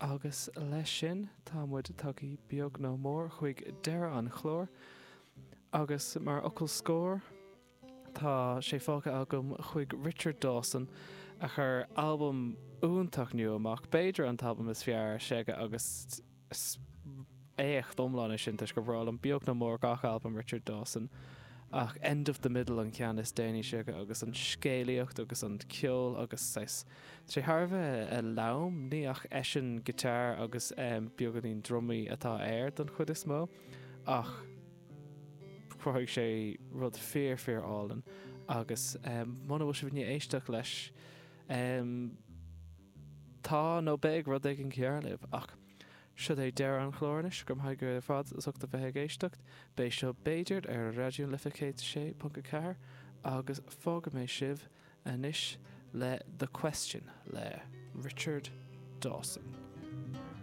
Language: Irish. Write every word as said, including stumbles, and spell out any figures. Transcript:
Agus leis sin tá muid tagtha beag nó mór chuig deireadh an chláir agus mar fhocal scoir tá sé fágtha agam chuig Richard Dawson a chuir albam iontach nua amach b'fhéidir an t-albam is fearr s'aige agus éacht iomlán é sin toisc gur breá liom beag nó mór gach albam Richard Dawson ach End of the Middle an ceann is déanaí s'aige agus an scéalaíocht agus an ceol agus sé sé thar a bheith lom ní ach eisean guitar agus um, beagáinín drumaí atá air don chuid is mó ach chruthaigh sé rud fíor fíor álainn agus um, muna bhfuil sibh éisteacht leis um, tá nó beidh rud éigin cearr libh ach Seo é deireadh an chláir anois go maith go fad as ucht a bheith ag éisteacht, Beidh seo b'fhéidir ar Raidió Life céad sé ponc a ceathair agus fágfaidh mé sibh anois le The Question le Richard Dawson.